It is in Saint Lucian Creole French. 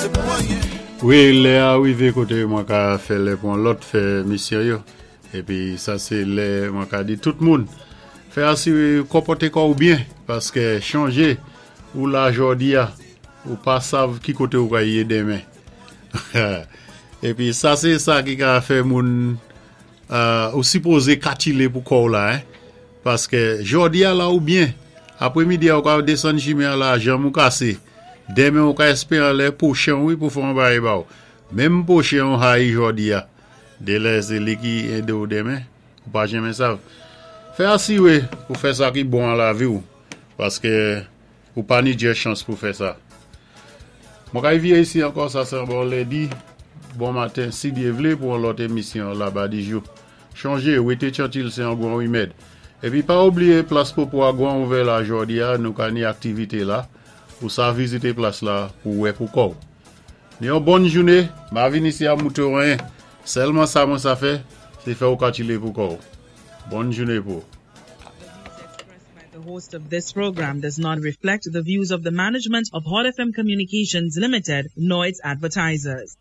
Sé pou anyen. Wi, lè a wivé koté mwen ka fè lè pou an lòt fè misyon yo. Épi sa sé lè mwen ka di tout moun fè asiwé konpòté kò ou byen paské chonjé ou la jòdi a ou pa sav ki koté ou ka yé denmen. Épi sa sé sa ki ka fè moun ou sipozé katilé pou kò ou la hein. Paské jòdi a la ou byen, apwé midi a ou ka désann chimen an la janm ou kasé. Denmen ou ka èspéran lè pwochen wi pou fè an bagay ba ou. Menm pwochen ou hayi jòdi a. Dé lè sé li ki édé ou denmen, ou pa janmen sav. Fè asiwé pou fè sa ki bon an lavi ou paské ou pa ni djè chans pou fè sa. Mwen kay viré isi ankò, sa sé an bon lendi, bon maten, si Dye vlé pou an lòt émisyon Laba Dijou. Chonjé, wété tyantil sé an gwan wimèd. Épi pa oubliyé plas Popo a gwan ouvè la jòdi a, nou ka ni aktivité la, ou sa vizité plas la pou wè pou kò ou. Ni yon bòn jouné, ma vin isi a mouté ou anyen. Sèlman sa mwen sa fè, sé fè ou katilé pou kò ou. Bòn jouné pou ou. The views expressed by the host of this program does not reflect the views of the management of Hot FM Communications Limited nor its advertisers.